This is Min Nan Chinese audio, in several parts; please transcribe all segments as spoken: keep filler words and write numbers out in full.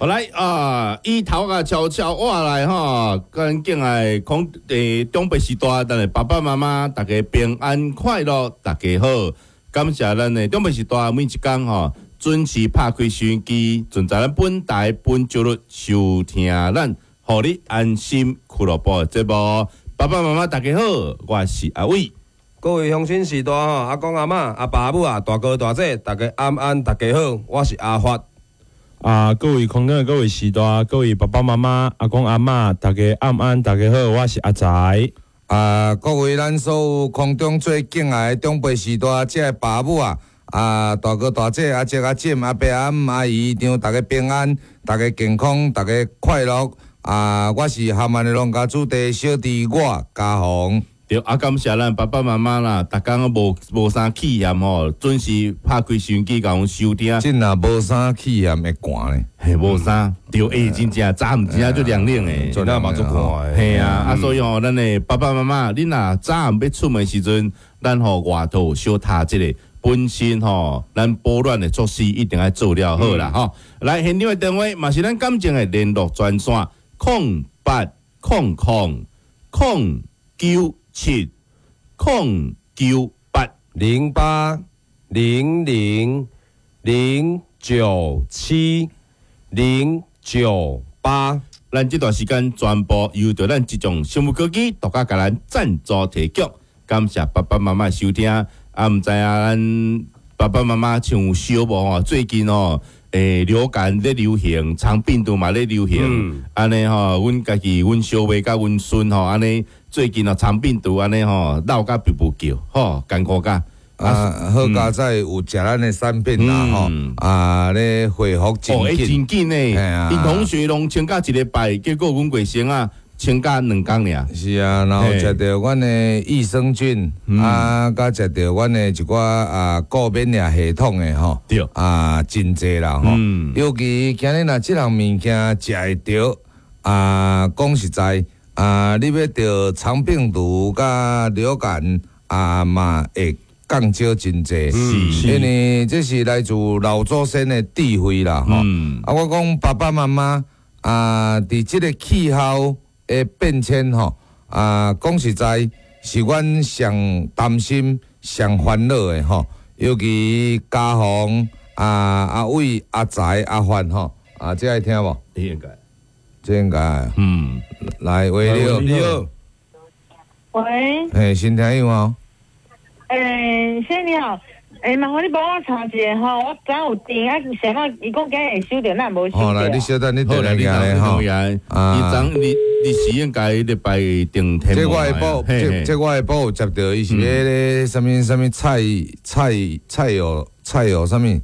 好來啊，伊頭仔悄悄話來吼，跟敬愛空誒長輩時代，咱的爸爸媽媽大家平安快樂，大家好，感謝咱的長輩時代每一工吼準時拍開收音機，準在咱本台本周日收聽咱，予你安心俱樂部的節目。爸爸媽媽大家好，我是阿偉。各位鄉親序大吼，阿公阿嬤、阿爸阿母啊，大哥大姐，大家晚安，大家好，我是阿發。啊，各位空中的各位序大，各位爸爸媽媽、阿公阿嬤，大家晚安，大家好，我是阿財。啊，各位咱所有空中最敬愛的長輩序大，這个爸母啊，啊大哥大姐、阿叔阿婶、阿伯阿姆阿姨丈，大家平安，大家健康，大家快樂。啊，我是咸萬的農家子弟小弟我嘉宏。對，啊，感謝咱爸爸媽媽啦，逐工無無啥氣焰吼，準時拍開收音機共阮收聽。這若無啥氣焰會寒咧？嘿，無啥，對，欸，真正早暗真正足涼冷的，真正嘛足寒的。嘿啊，啊，所以吼，咱的爸爸媽媽，恁若早暗欲出門時陣，咱吼外套小疊一下，本身吼，咱保暖的措施一定愛做了好啦吼。來，現場的電話嘛是咱感情的聯絡專線，空八空空空九七空九八。零八零零零九七零九八。咱這段時間全部由著咱這種生物科技獨家共咱贊助提供，感謝爸爸媽媽收聽。啊，毋知影咱爸爸媽媽像有燒無吼？最近吼，欸，流感咧流行，腸病毒嘛咧流行，按呢吼，阮家己阮小妹佮阮孫吼，按呢最近哦，腸病毒按呢吼，鬧甲噗噗叫，吼，艱苦甲。啊，好佳哉有食咱的產品啦吼，啊咧恢復真哦，欸，緊。真緊呢，啊𪜶同學攏請假一禮拜，結果阮貴生啊請假兩工爾。是啊，然後食著阮的益生菌，啊，佮食著阮的一寡啊顧免疫系統的吼，對啊，真濟啦吼。嗯尤其今日若這項物件食會著，啊，講實在，啊，你欲著腸病毒佮流感啊，嘛會降少真濟。是因為這是來自老祖先的智慧啦吼。嗯啊，我講爸爸媽媽啊，佇這個氣候的變遷吼，啊，講實在是阮上擔心、上煩惱的吼。尤其家宏啊、阿偉、阿財、阿發吼，啊，這愛聽無？應該，這應該。嗯，來，喂，你好。你好。喂，嘿，新聽友哦。欸，先生你好，欸，麻煩你幫我查一下吼，我昨有訂啊，啥物？伊講今日會收著，咱無收好來，你著。小等，你好來，轉來你來吼。啊，伊昨你你是應該禮拜訂天這我的寶，這這我的寶有接著，伊是彼个啥物啥物菜菜菜友菜友啥物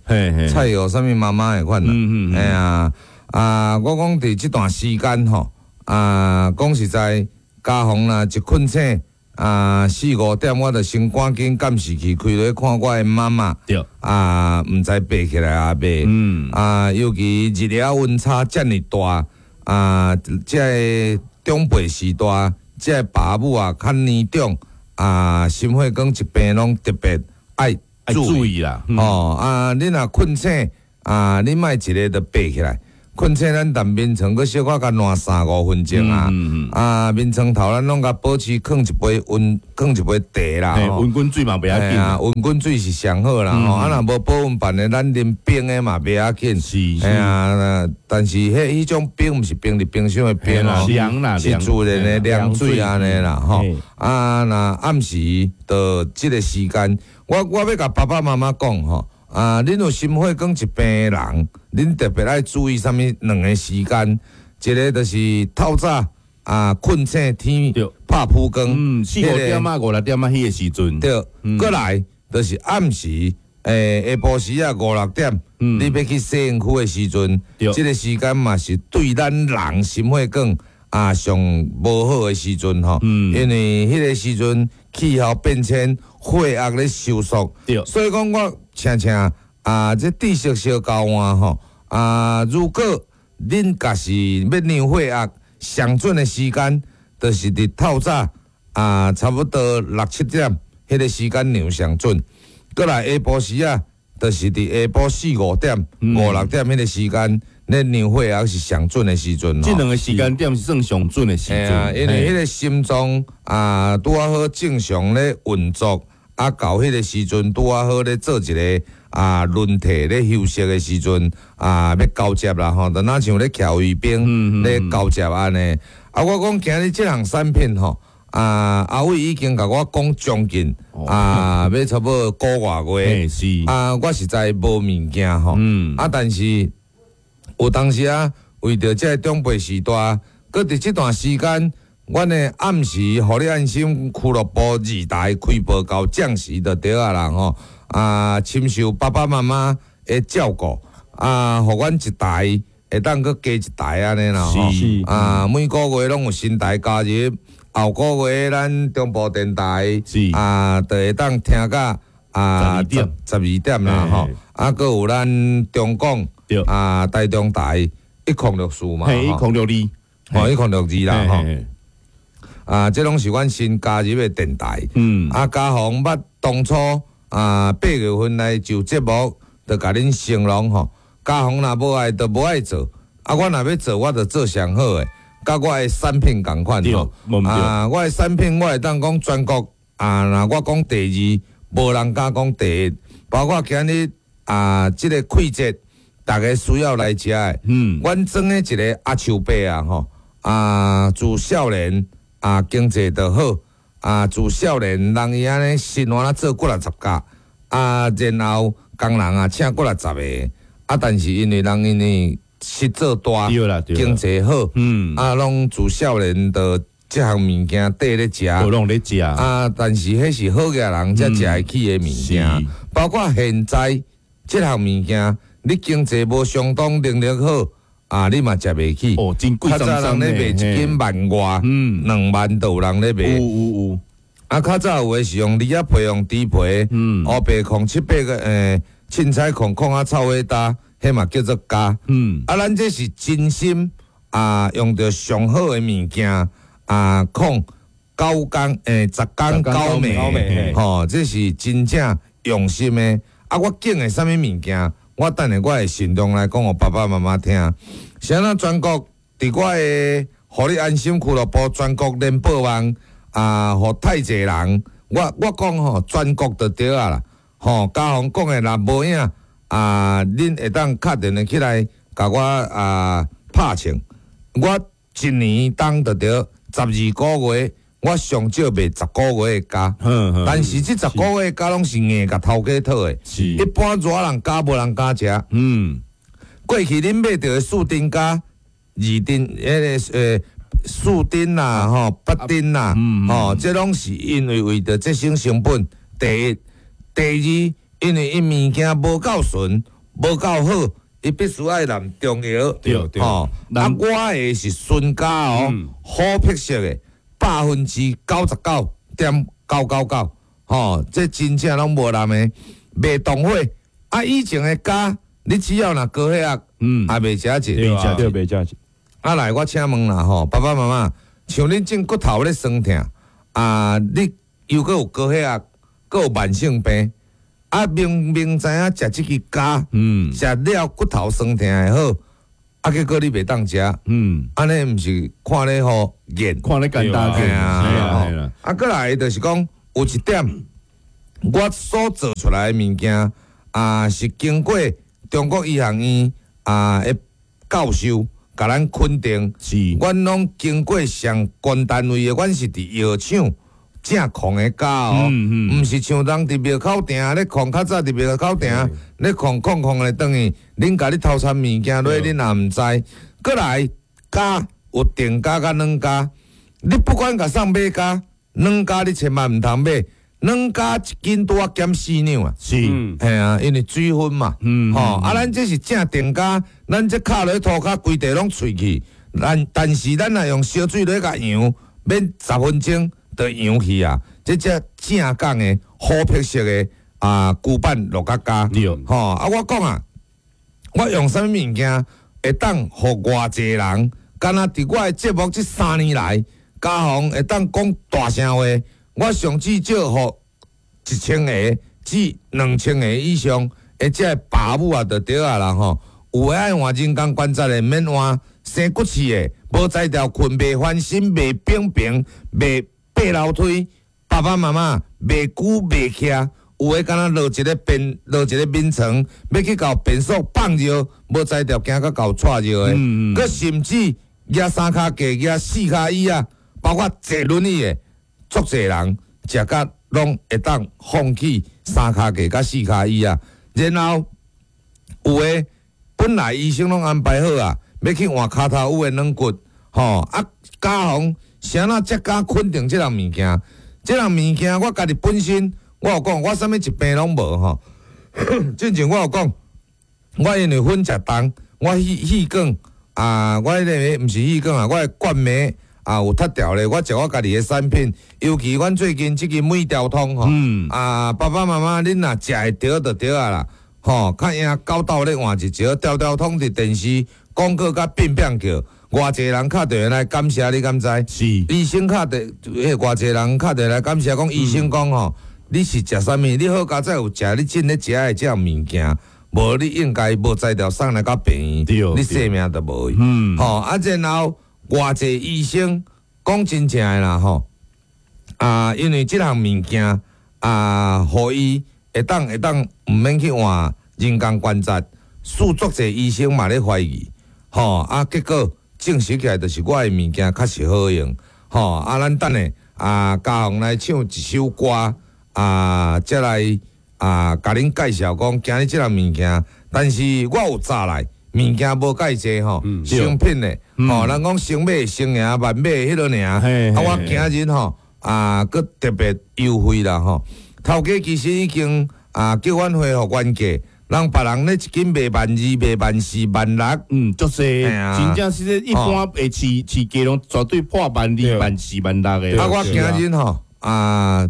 菜友啥物媽媽的款啦。嗯嗯嘿啊啊！我講佇這段時間吼，啊，講實在，家宏若一睏醒啊，四五點我就先趕緊監視器開落看我的媽媽。對。啊，毋知爬起來抑未？嗯。啊，尤其日夜溫差遮爾大，啊，這个長輩序大，這个爸母啊較年長，啊，心血管疾病攏特別愛愛注意啦。哦，啊，你若睏醒，啊，你莫一下就爬起來。睏醒咱踮眠床，閣小可共瀾三五分鐘啊，啊，眠床頭咱攏共保持囥一杯溫，囥一杯茶啦，溫滾水嘛袂要緊，溫滾水是上好啦，吼，啊，若無保溫辦的，咱啉冰的嘛袂要緊。是，嘿啊，但是彼彼種冰毋是冰佇冰箱的冰哦，是自然的涼水按呢啦，吼。啊，若暗時著這個時間，我我欲共爸爸媽媽講吼。啊！恁有心血管疾病的人，恁特別愛注意啥物兩個時間，一個就是透早啊，睏醒天拍曝光，嗯，四五點仔五六點仔彼個時陣，對，過來就是暗時，欸，下晡時仔五六點，你欲去洗身軀的時陣，這個時間嘛是對咱人心血管啊上無好的時陣吼，因為彼個時陣氣候變遷，血壓咧收縮，所以講我。請請啊！這知識小交換吼啊！如果恁若是欲量血壓，上準的時間，就是佇透早啊，差不多六七點，彼個時間量上準。閣來下晡時仔，就是佇下晡四五點、五六點彼个時間，咧量血壓是上準的時陣。這兩个時間點是算上準的時陣。啊，因為彼个心臟啊，拄仔好正常咧運作，啊，到彼个時陣拄仔好咧做一个啊輪替咧休息的時陣啊，欲交接啦吼，就若像咧徛衛兵咧交接按呢。啊，我講今日這項產品吼。啊，阿偉已經共我講將近啊，欲差不多個外月。是啊，我實在無物件吼。嗯。啊，但是有當時啊，為著這个長輩時代，閣佇這段時間，阮的暗時予你按心俱樂部二台開播到正時就對啊啦吼。啊，深受爸爸媽媽的照顧，啊，予阮一台會當閣加一台按呢啦吼。是。啊，每個月攏有新台加入。後個月咱中部電台啊，就會當聽到啊十十二點啦吼，啊，閣有咱中廣啊台中台一空六四嘛，一空六二，吼一空六二啦吼，啊，這攏是阮新加入的電台，嗯，啊，嘉宏捌當初啊八月份來就節目，就共恁承諾吼，嘉宏若無愛就無愛做，啊，我若欲做，我就做上好的。佮我的產品仝款吼，啊，我的產品我會當講全國啊，若我講第二，無人敢講第一。包括今日啊，這个氣節，逐家需要來食的。嗯，阮裝的一个阿樹伯啊，吼啊，自少年啊經濟就好，啊自少年人伊按呢生活做幾若十工，啊，然後工人啊請幾若十个，啊，但是因為人因為實做大，經濟好，嗯，啊，攏自少年就這項物件綴咧食，攏咧食啊，但是彼是好額人才食會起的物件，包括現在這項物件，你經濟無相當能力好，啊，你嘛食袂起。哦，真貴。較早人咧賣一斤萬外，嗯，兩萬都有人咧賣。有有有。啊，較早有的是用梨仔皮，用豬皮，嗯，烏白控七八个，欸，凊彩控控啊，臭火焦。彼嘛叫做膠，嗯，啊，咱這是真心啊，用著上好的物件啊，控九工欸十工九暝，吼，這是真正用心的。啊，我揀的啥物物件，我等下我會行動來講予爸爸媽媽聽。是按怎全國佇我的予你按心俱樂部全國聯播網啊，予太濟人，我我講吼，全國就對啊啦，吼，嘉宏講的若無影。啊！恁會當敲電話起來，共我啊拍槍。我一年當就著十二個月，我上少賣十個月的膠。但是這十個月的膠攏是硬共頭家討的。是。一般熱人加無人敢食。嗯。過去恁買著的四珍膠、二珍、彼个呃四珍啦、吼八珍啦，吼，這攏是因為為著節省成本。第一，第二。因為伊物件無夠純，無夠好，伊必須愛淋中藥。對對。吼，啊，我的是純膠哦，好癖色的，百分之九十九點九九九，吼，這真正攏無淋的，袂動火。啊，以前的膠，你只要若高血壓，嗯，也袂食一，對，袂食一。啊，來，我請問啦，吼，爸爸媽媽，像恁這骨頭咧酸痛，啊，你又閣有高血壓，閣有慢性病。啊，明明知影食這支膠，嗯，食了骨頭酸痛會好，啊，結果你袂當食，嗯，按呢毋是看咧予癮，看咧簡單啊，啊，閣來就是講有一點，我所做出來的物件啊，是經過中國醫學院啊的教授共咱肯定，是，阮攏經過相關單位的，阮是佇藥廠。正控的膠哦，毋是像人佇廟口埕咧控，較早佇廟口埕咧控控控咧轉去，恁共你偷摻物件落，恁也毋知。閣來膠有定膠佮軟膠，你不管共送買膠，軟膠你千萬毋通買，軟膠一斤拄仔減四兩啊。是，嘿啊，因為水分嘛，吼啊，咱這是正定膠，咱這敲落塗跤規地攏脆去，咱但是咱若用燒水落共揚，免十分鐘。就揚去啊！這只正港的好癖色的啊，龜板落甲膠，吼啊！我講啊，我用啥物物件會當予偌濟人，敢若佇我的節目這三年來，嘉宏會當講大聲話，我上至少予一千个至兩千个以上，而且爸母啊，就對啊啦吼。有的愛換人工關節的，免換生骨刺的，無才調睏袂翻身，袂扁平，袂爬樓梯。爸爸媽媽袂久袂徛，有的敢若落一个便落一个眠床，欲去共便所放尿，無才調驚甲共掣尿的。閣甚至舉三跤架、舉四跤椅仔，包括坐輪椅的，足濟人食甲攏會當放棄三跤架佮四跤椅仔。然後有的本來醫生攏安排好啊，欲去換跤頭趺的軟骨，吼啊，家宏啥若才敢肯定這項物件？這項物件我家己本身，我有講，我啥物疾病攏無吼。進前我有講，我因為粉食重，我氣氣管啊，我彼个毋是氣管啊，我的冠脈啊有脫掉咧。我食我家己的產品，尤其阮最近這支每條通吼，啊，爸爸媽媽恁若食會著就對啊啦，吼，較贏九斗咧換一招，條條通佇電視廣告佮變變叫，偌濟人敲電話來感謝你敢知？是。醫生敲電，彼偌濟人敲電話來感謝，講醫生講吼，你是食啥物？你好佳哉有食你進咧食的這項物件，無你應該無才調送來到病院，你性命就無去。嗯，吼啊，然後偌濟醫生講真正的啦吼，啊，因為這項物件啊，予伊會當會當毋免去換人工關節，使足濟醫生嘛咧懷疑，吼啊，結果證實起來就是我的物件確實好用，吼啊，咱等下啊，嘉宏來唱一首歌。啊，才來啊，共恁介紹講今日這項物件，但是我有查來物件無蓋濟吼，成品的吼，人講先買先贏，慢買彼落爾。啊，我今日吼啊，閣特別優惠啦吼。頭家其實已經啊叫阮恢復原價，人別人咧一斤賣萬二、賣萬四、萬六，嗯，足濟，真正是一般的市市價攏絕對破萬二、萬四、萬六的。啊，我今日吼啊。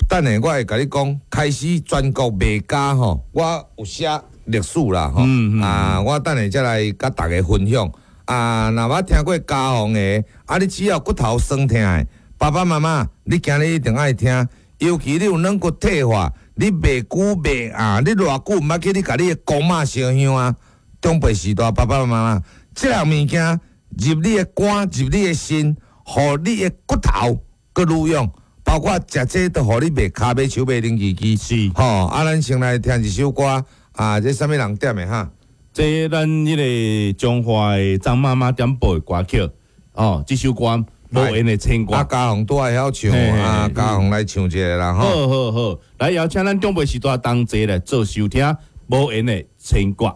等下我會共你講，開始全國賣家吼，我有寫歷史啦吼，啊，我等下才來佮大家分享。啊，若捌聽過嘉宏的，啊，你只要骨頭酸疼的，爸爸媽媽，你今日一定愛聽，尤其你有軟骨退化，你袂久袂啊，你偌久毋捌去你共你的公媽燒香啊，長輩時代爸爸媽媽，這項物件入你的肝，入你的腎，予你的骨頭閣愈勇。包括食這都予你袂跤尾手袂冷吱吱。是吼，啊，咱先來聽一首歌，啊，這啥物人點的哈？這咱彼个彰化的張媽媽點播的歌曲，哦，這首歌無緣的牽掛。啊，嘉宏拄會曉唱，啊，嘉宏來唱一下啦，吼。好好好，來邀請咱長輩時代同齊來做收聽，無緣的牽掛。